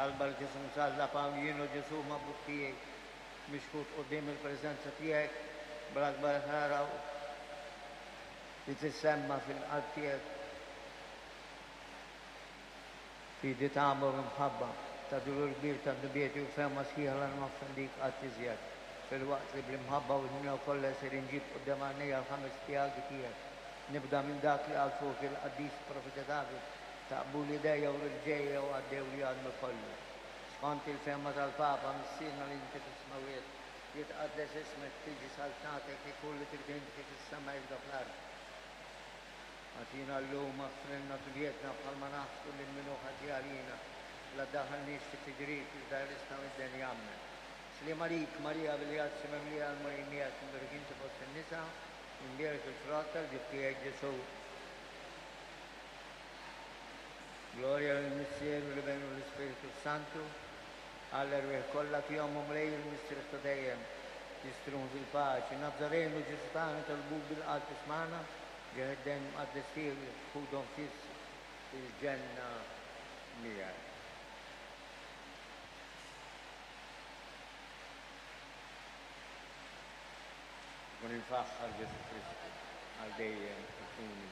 Talba l-Ġesù Msallab hawn jien, o Ġesù maħbub tiegħi, mixħut quddiem il-preżenza tiegħek bl-akbar ħrara u li tissemma fil-qalb tiegħek. Fidi tagħmur u mħabba, ta' dulur kbir ta' dnubieti u fehma sħiħa la noffendik qatt iżjed, filwaqt li bl-imħabba u l-ħniena kollha ser inġib quddiem għajnejja l-ħames pjagi tiegħek. Nibda minn dak li qal fuqi l-qaddis profeta David, Taqbuli idejja u riġlejja u għaddewli għadmi kollu. Skont il-fehma tal-Papa, Missierna li inti fis-smewwiet, jitqaddes ismek, tiġi saltnatek, ikun li trid int kif fis-sema hekk fl-art. Agħtina llum aħfrilna dnubietna bħalma naħfru lil min hu ħati għalina. La ddaħħalniex fi tiġrib, iżda ħlisna mid-deni. Ammen. Sliem għalik, Marija bil-grazzi mimlija, l-Mulej miegħek, imbierek inti fost in-nisa, u mbierek il-frott tal-ġuf tiegħek, Ġesù. Glorja lill-Missier u l-Iben u l-Ispirtu s-Santu, għall-erwieħ kollha fihom o Mulej il-mistrieħ ta' dejjem, jistrieħu fil-paċi. Nazzarenu Ġesù tagħna nitolbuk bil-qalb ismagħna, Ġieħ id-demm mqaddes tiegħu ħudhom fiss il-ġenna miegħek. Ikun imfaħħar Ġesù Kristu għal dejjem ikun.